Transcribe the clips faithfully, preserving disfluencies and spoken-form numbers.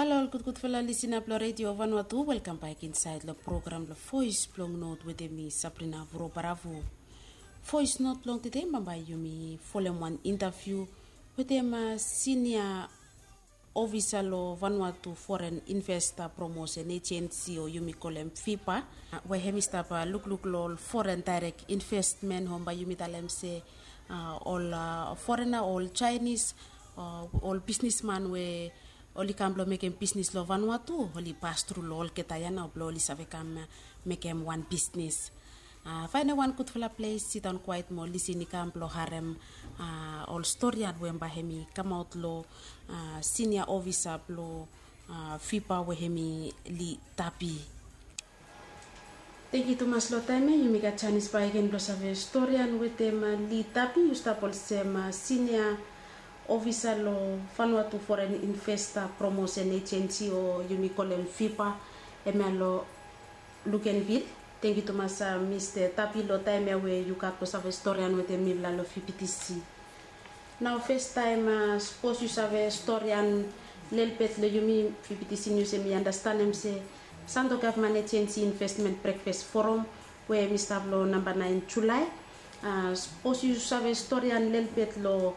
Halo ol gudgudfala lisina blong Redio Vanuatu, welkam bak insaed long program blong Voes blong Not wetem mi, Sabrina Vurobaravu. Voes Not blong tede bambae yumi folem wan intaviu wetem sinia ofisa long Vanuatu Foren Investa Promosen Ejensi o yumi kolem VIPA, we hemi stap lukluk long ol foren daerek investmen, hom bae yumi talem se ol forena, ol Jaenis, ol bisnisman we oli kam blong mekem bisnis long Vanuatu, oli pas tru long olgeta ya nao blong oli save kam mekem wan bisnis. Faenem wan gudfala ples, sidaon kwaet mo lisin i kam blong harem ol storian we bae hemi kamaot long sinia ofisa blong VIPA we hemi Li Tapi. Tangkiu tumas long taem ya yumi gat janis bakegen blong save storian wetem Li Tapi. Yu stap olsem sinia ofisa long Vanuatu Foren Investa Promosen Ejensi o yumi kolem VIPA, hemia long Luganville. Tangkiu tumas Mista Tapi long taem ya we yu gat blong save storian wetem mifala long VBTC. Nao festaem, sapos yu save storian lelebet long yumi, VBTC Nius hemi andastanem se Santo Gavman Ejensi Investmen Brekfas Forum we hemi stap long namba naen Julae. Sapos yu save storian lelebet long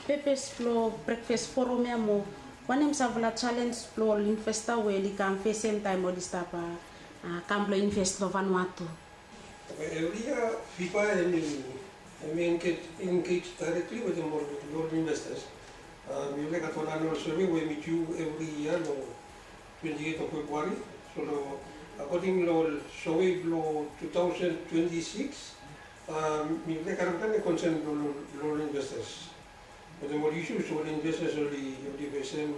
pepes blong brekfas forum ya mo wanem samfala jalenj blong ol investa we oli kam fesem taem oli stap kam blong inves long Vanuatu. Evri yia VIPA hemi, hemi engej, engej daerekli wetem ol, ol investas. Mifala i gat wan anual sove we hemi diu evri yia long twenti eit of Februari. So long, akoding long ol sove blong tu taosen twenti sikis, mifala i karem plante konsen blong, blong ol investas wetem ol isius ol investas oli, oli fesem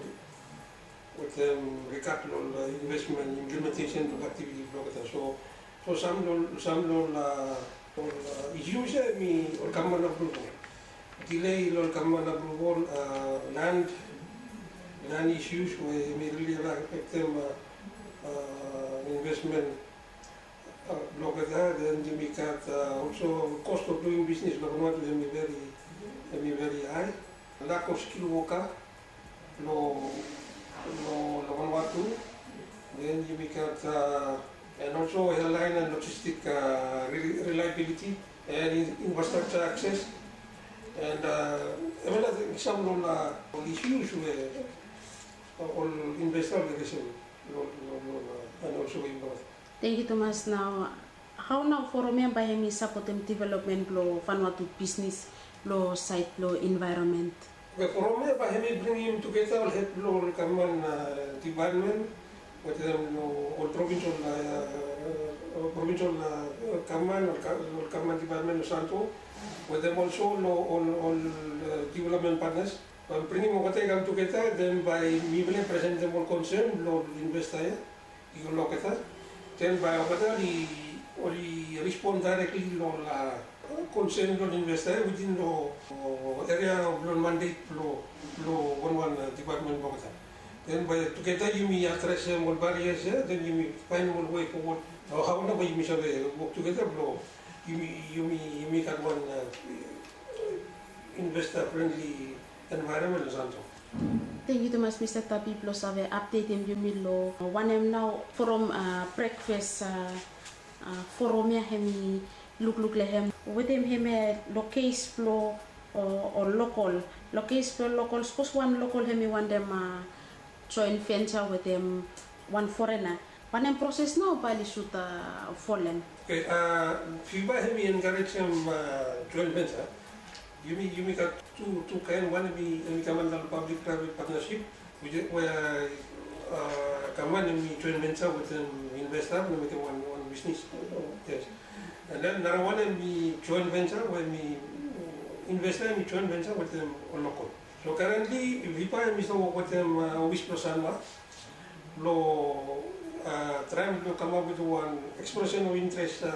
wetem rigat long ol investmen implementesen blong aktiviti blong olgeta. So, so sam long, sam long ol, ol isius ya hemi ol gavman apruval. Delay long ol gavman apruval, lan, lan isius we hemi rili afektem investmen blong olgeta. Den yumi gat olso cost of doing business long Vanuatu hemi veri, hemi veri hae. Lack of skilled worker long, long, long Vanuatu. Den yumi gat and also airline and logistic reliability and infrastructure access. And hemia nao sam long ol isius we ol investa oli resem long, long, long, and also involve. Tangkiu tumas. Nao hao nao forum ya bae hemi sapotem developmen blong Vanuatu bisnis long saed blong envaeronmen? Oke, forum ya bae hemi bringim tugeta ol hed blong ol gavman dipatmen wetem ol provinsel, provinsel gavman, ol gavman dipatmen long Santo wetem olso long ol, ol developmen patnas. Bae bringim olgeta i kam tugeta, den bae mifala i presentem ol konsen blong ol investa ya i go long olgeta. Den bae olgeta oli, oli respon daerekli long ol konsen blong ol investa ya witin long eria blong mandet blong, blong wanwan dipatmen blong olgeta. Den bae tugeta yumi adresem ol barias ya, den yumi faenem ol wei fowod o hao nao bae yumi save wok tugeta blong yumi, yumi, yumi gat wan investa frenli envaeronmen long Santo. Tangkiu tumas Mista Tapi blong save apdetem yumi long wanem nao forum brekfas forum ya hemi lukluk long hem wetem hemia long kes blong ol lokol. Long kes blong lokol, sapos wan lokol hemi wantem joen venture wetem wan forena, wanem proses nao bae oli sud folem? Oke, VIPA hemi enkarejem joen venture. Yumi, yumi gat tu, tu kaen, wan hemi, hemi kam anda long public private partnership we, we gavman hemi joen venture wetem investa blong mekem wan, wan bisnis. Yes. And then narawan hemi joen venture we hemi investa hemi joen venture wetem ol lokol. So currently VIPA hemi stap wok wetem ofis blong Sanwa blong traem blong kamap wetem wan expression of interest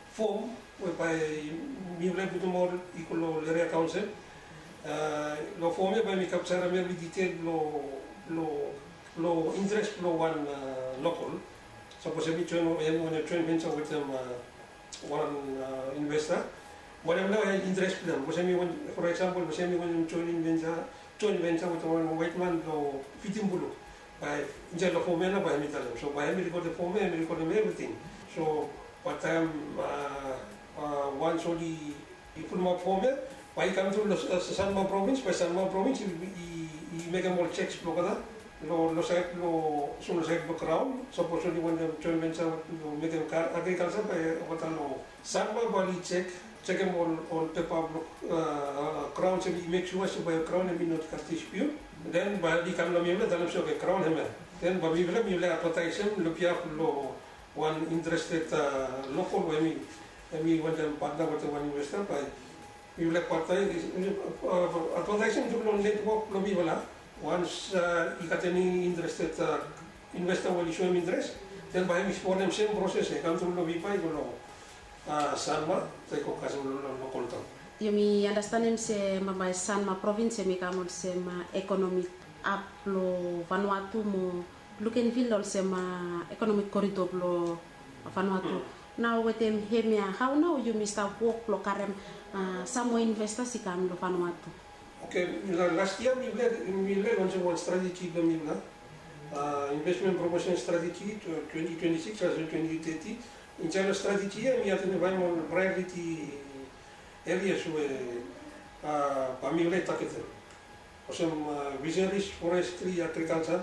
fom we bae mifala i putum ol i go long ol eria kaonsel. Long fom ya bae mi kapjarem evri ditel blong, blong, blong interes blong wan lokol. Sapos hemi joen, hemi wantem joen venture wetem wan investa, wanem nao interes blong hem. Sapos hemi wantem, for example, sapos hemi wantem joen venture, joen venture wetem wan waetman blong Fitimbuluk. Bae insaed long fom ya nao bae hemi talem. So bae hemi rekodem fom ya, hemi rekodem evriting. So bae taem wans oli i pulumap fom ya, bae i kam tru long Sanma provins, bae Sanma provins i mekem ol cheks blong olgeta long saed blong, olsem long saed blong graon. Sapos oli wantem joen venture blong mekem agrikalsa, bae olgeta long Sanma bae oli jek, jekem ol pepa blong graon se i mek sua se bae graon hemi no gat dispiut. Den bae oli kam long mifala talem se oke, graon hemia. Den bae mifala mifala advataesem long biaf blong wan interested lokol we hemi wantem patna wetem wan investa, bae mifala advataesem tru long netwok blong mifala. Wans i gat eni interested investa we oli soem interes, den bae hemi folem sem proses ya, i kam tru long Viva i go long Sanma, taem i go kasem long lokol taon. Yumi anastenem se bambae Sanma provins hemi kam olsem ekonomik ab blong Vanuatu mo Luganville olsem ekonomik korido blong Vanuatu. Nao wetem hemia, hao nao yumi stap wok blong karem sam moa investas i kam long Vanuatu? Oke, las yia mifala, mifala lonsem wan strateji blong mifala, investment promotion strateji twenti twenti sikis kasem twenti teti. Insaed long strateji ya mi aedentifaem ol priority areas we bae mifala i tagetem, olsem fisheries, forestry, agriculture.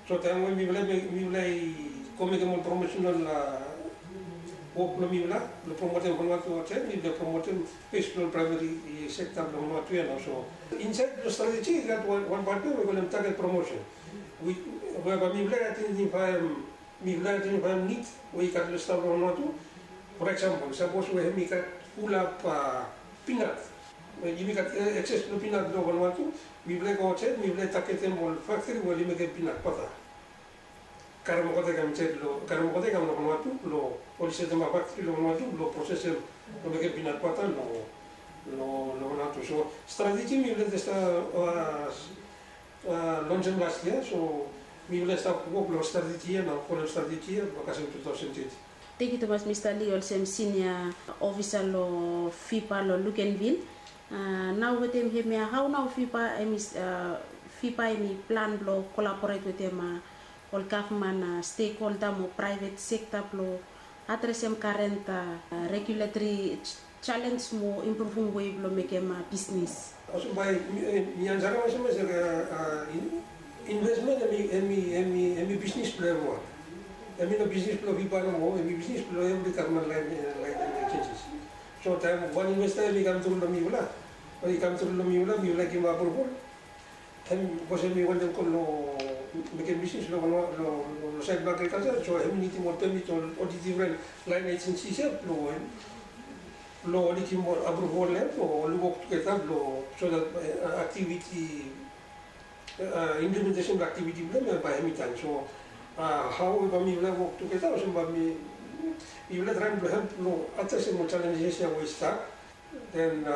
So taem we mifala i go mekem ol promotional wok blong mifala blong promotem Vanuatu aotsaed, mifala promotem bes blong ol primary sekta blong Vanuatu ya nao. So insaed long strateji i gat wan pat we i kolem target promotion, we bae mifala i aedentifaem mifala i aedentifaem nid we i gat long stap long Vanuatu. For example, sapos we hemi gat fulap pinat, yumi gat ekses blong pinat long Vanuatu, mifala i go aotsaed, mifala i tagetem ol faktri we oli mekem pinat bata. Karem olgeta i kam insaed long, karem olgeta i kam long Vanuatu blong oli setemap faktri long Vanuatu blong prosesem blong mekem pinat bata long Vanuatu. So strateji mifala i stap lonsem las yia, so mifala i stap wok long strateji ya nao, folem strateji ya blong kasem tu taosen teti. Tangkiu tumas Mista Lee, olsem sinia ofisa long FIPA long Luganville. Nao wetem hemia, hao nao FIPA hemi, FIPA hemi plan blong kolaboret wetem ol gavman stekholda mo praevet sekta blong adresem karen reguletri jalenj mo impruvum wei blong mekem bisnis? Olsem bae mi ansarem olsem se, investment hemi, hemi, hemi bisnis blong evriwan. Hemi no bisnis blong FIPA nomo, hemi bisnis blong evri gavman laen, laen agencies. So taem wan investa hemi kam tru long mifala, i kam tru long mifala, mifala givim apruval, hem, bikos hemi wantem go long mekem bisnis long, long saed blong agrikalsa, so hemi nidim ol pemit, ol difren laen agencies ya blong, blong oli givim ol apruval ya blong oli wok tugeta blong, so that aktiviti, implementesen blong aktiviti blong hem bae hemi tan. So hao we bae mifala wok tugeta, olsem bae mifala traem blong help blong adresem ol jalenjes ya we i stap, den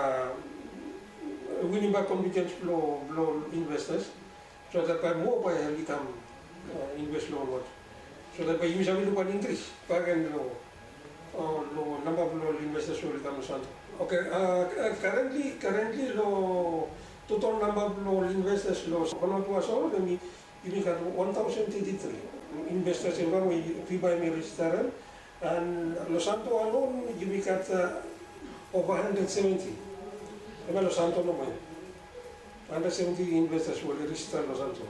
winim bak konfidens blong, blong investas, so that bae moa bae oli kam inves long Vanuatu, so that bae yumi save luk wan inkris bakegen long, long namba blong ol investas we oli kam long Santo. Oke, karentli, karentli long total namba blong ol investas long Vanuatu asol, hemi, yumi gat wan taosen teti tri investas evriwan we FIPA hemi rejistarem. An long Santo alon yumi gat ova handred seventi. Hemia long Santo nomo ya. Handred seventi investas we oli rejista long Santo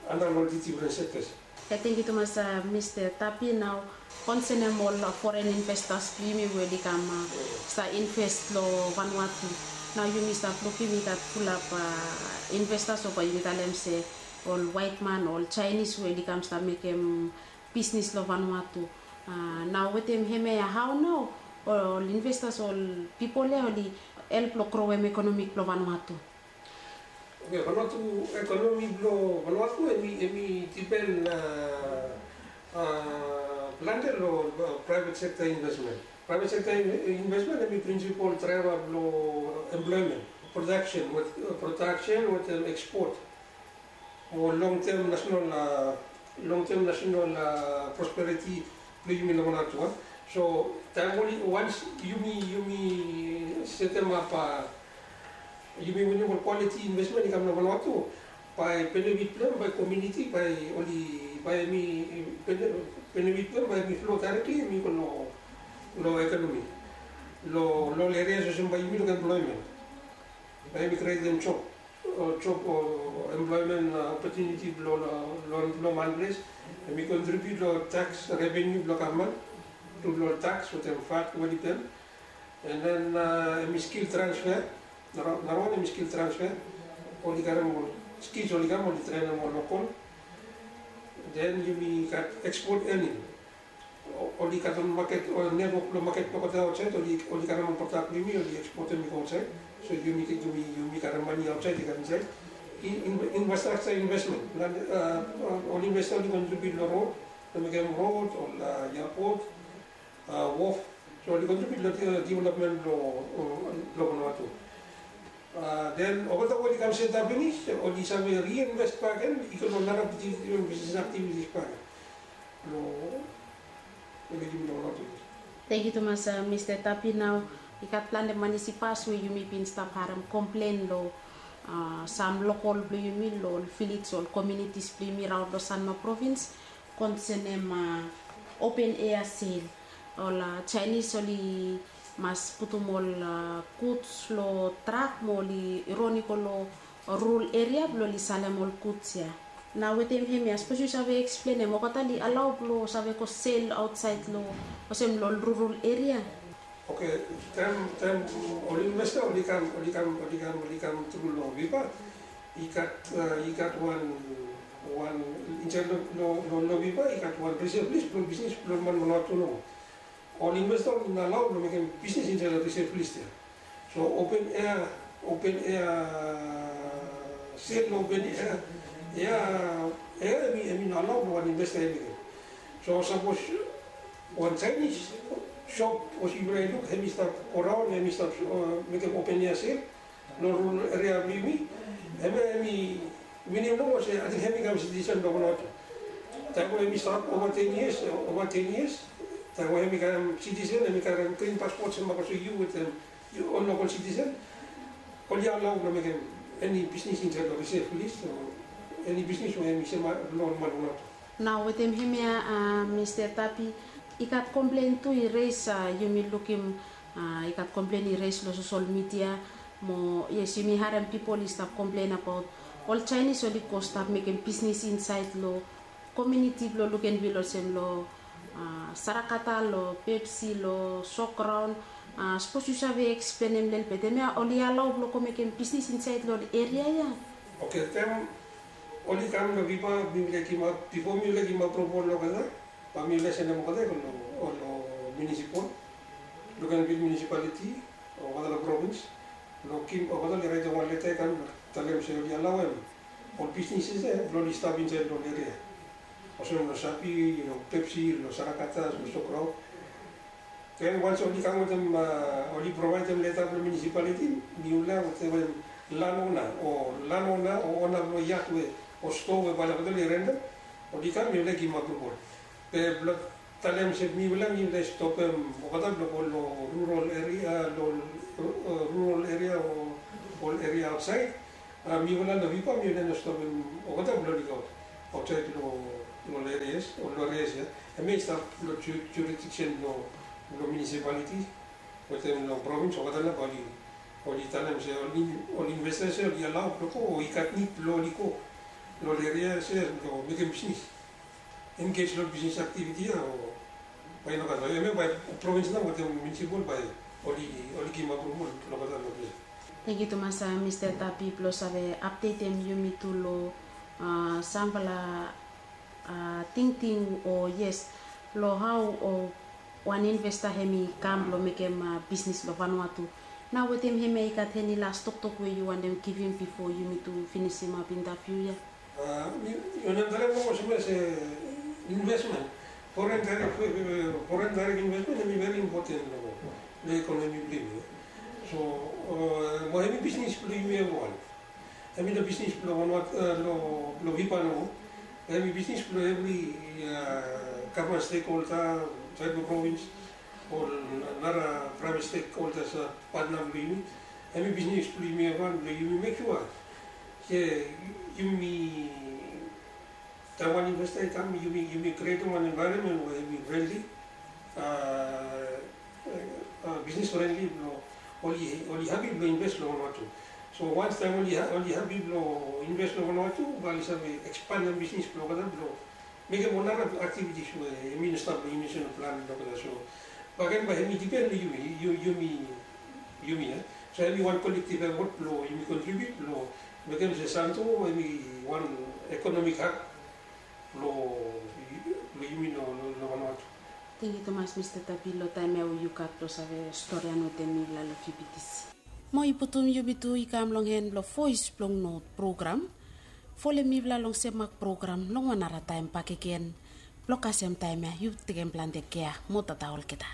anda long ol difren sektas. Ia, tangkiu tumas Mista Tapi. Nao konsenem ol foren investas blong yumi we oli kam stap inves long Vanuatu. Nao yumi stap lukim i gat fulap investas, o bae yumi talem se ol waetman, ol Jaenis we oli kam stap mekem bisnis long Vanuatu. Nao wetem hemia, hao nao ol investas, ol pipol ya oli help long growem ekonomi blong Vanuatu? Oke, Vanuatu, ekonomi blong Vanuatu hemi, hemi dipen plante long praevet sekta investmen. Praevet sekta investmen hemi prinsipol draeva blong emploemen, prodaksen, prodaksen wetem ekspot, mo long tem nasenal, long tem nasenal prosperiti blong yumi long Vanuatu. So taem oli, wans yumi, yumi setemap, yumi winim ol kwaliti investmen i kam long Vanuatu, Bae benefit blong hem bae komuniti bae oli bae hemi benefit blong hem bae hemi flo daerekli hemi go long ekonomi. Long ol erias olsem bae yumi luk emploemen, bae hemi krietem job, job o emploemen opotuniti blong man ples. Hemi kontribiut long taks reveniu blong gavman tru long ol taks wetem vat we oli pem. And then hemi skil transfe. Narawan hemi skil transfe. Oli karem ol skil oli kam oli trenem ol lokol. Then yumi gat ekspot ening. Oli gat ol maket o netwok blong maket blong olgeta aotsaed, oli karem ol prodak blong yumi oli ekspotem i go aotsaed. So yumi yumi karem mane aotsaed i kam insaed. Infrastraksa investmen, ol investa oli kontribiut long rod, long mekem rod, ol epot, wof. So oli kontribiut long developmen blong Vanuatu. Then olgeta we oli kam setap finis oli save reinvest bakegen i go long nara bisnis aktivitis bakegen. Long mekem long Vanuatu. Tangkiu tumas Mista Tapi. Nao i gat plante manis i pas we yumi bin stap harem komplen long sam lokol blong yumi long ol vilej, ol komunitis blong yumi raon long Sanma provins, konsenem open ea sel. Ol Jaenis oli mas putum ol guds long trak mo oli ron i go long rural eria blong oli salem ol guds ya. Nao wetem hemia sapos yu save eksplenem, olgeta oli alao blong save go sel aotsaed long olsem long ol rural eria? Oke, taem taem ol investa oli kam oli kam oli kam oli kam tru long Viva, i gat i gat wan wan insaed long long Viva i gat wan risev lis blong bisnis blong man Vanuatu nomo. Ol investa oli no alao blong mekem bisnis insaed long risev lis ya. So open ea open ea sel long open ea ea ea hemi hemi no alao blong wan investa hemi mekem. So sapos wan Jaenis sop olsem yufala i luk hemi stap go raon, hemi stap mekem open ea sel long rural eria blong yumi, hemia hemi minim nomo se ating hemi kam sitisen blong Vanuatu. Taem we hemi stap ova ten yias, ova ten yias, taem we hemi kam sitisen hemi karem grin paspot se bak olsem yu wetem ol lokol sitisen, oli alao blong mekem eni bisnis insaed long risev lis o eni bisnis we hemi sem long ol man Vanuatu. Nao wetem hemia Mista Tapi, i gat komplen tu i res, yumi lukim i gat komplen i res long sosel midia. Mo yes, yumi harem pipol i stap komplen abaot ol Jaenis oli go stap mekem bisnis insaed long komuniti blong Luganville olsem long Sarakata, long Pepsi, long Sograon. Sapos yu save eksplenem lelebet, hemia oli alao blong go mekem bisnis insaed long ol eria ya? Oke, taem oli kam long Viva, mifala i givim, bifo mifala i givim apruval long olgeta, bae mifala i sendem olgeta i go long munisipal, Luganville munisipaliti, olgeta long provins, long givim olgeta, oli raetem wan leta i kam talem se oli alaoem ol bisnis ya blong oli stap insaed long ol eria, olsem long Sapi, long Pepsi, long Sarakata, long Sograon. Then wanem oli kam wetem, oli provaedem leta blong munisipaliti, mifala wetem landona o landona o ona blong yat we o stoa we bae olgeta oli rentem, oli kam, mifala i givim apruval. Be blong talem se mifala mifala i stopem olgeta blong go long rural eria, long rural eria o ol eria aotsaed. Mifala long Viva mifala i no stopem olgeta blong oli go aotsaed long ol erias, ol erias ya. Hemia i stap long jurisdiksen blong munisipaliti wetem long provins, olgeta nao bae oli talem se ol investa se oli alao blong go o i gat nid blong oli go long ol eria se blong mekem bisnis, engej long bisnis aktiviti ya o bae i no gat, hemia bae provins nao wetem munisipal bae oli givim apruval long olgeta long ples. Tangkiu tumas Mista Tapi blong save apdetem yumi tu long samfala tingting o yes long hao wan investa hemi kam blong mekem bisnis long Vanuatu. Nao wetem hemia i gat eni las toktok we yu wantem givim bifo yumi tu finisimap intaviu ya? Mi wantem talem nomo olsem se investmen, foren daerek, foren daerek investmen hemi veri impoten long ekonomi blong yumi. So mo hemi bisnis blong yumi evriwan. Hemi no bisnis blong Vanuatu, long Viva nomo. Hemi bisnis blong evri gavman stekholda, saed blong provins, ol nara praevet stekholdas, patna blong yumi. Hemi bisnis blong yumi evriwan, blong yumi mek sua Yumi taem wan investor i kam, yumi krietim wan envaeronmen we hemi frendli, bisnis frendli blong oli hapi blong invest long Vanuatu. So wans taem oli hapi blong invest long Vanuatu, bae oli save ekspandim bisnis blong olgeta blong mekem ol nara aktivitis we hemi no stap long yumi nasenal plan blong olgeta. So baken bae hemi dipen long yumi, yumi, yumi ya. So hemi wan kolektiv efot blong yumi kontribiut blong mekem se Santo hemi wan ekonomik hab blong yumi long Vanuatu. Tangkiu tumas Mista Tapi long taem ya we yu gat blong save stori ya wetem mifala long Q B T C. Mo i putum yumi tu i kam long en blong Voes blong Not program. Folem mifala long Semak program long wan nara taem bakegen. Blong kasem taem ya yu tekem plante kea mo tata olgeta.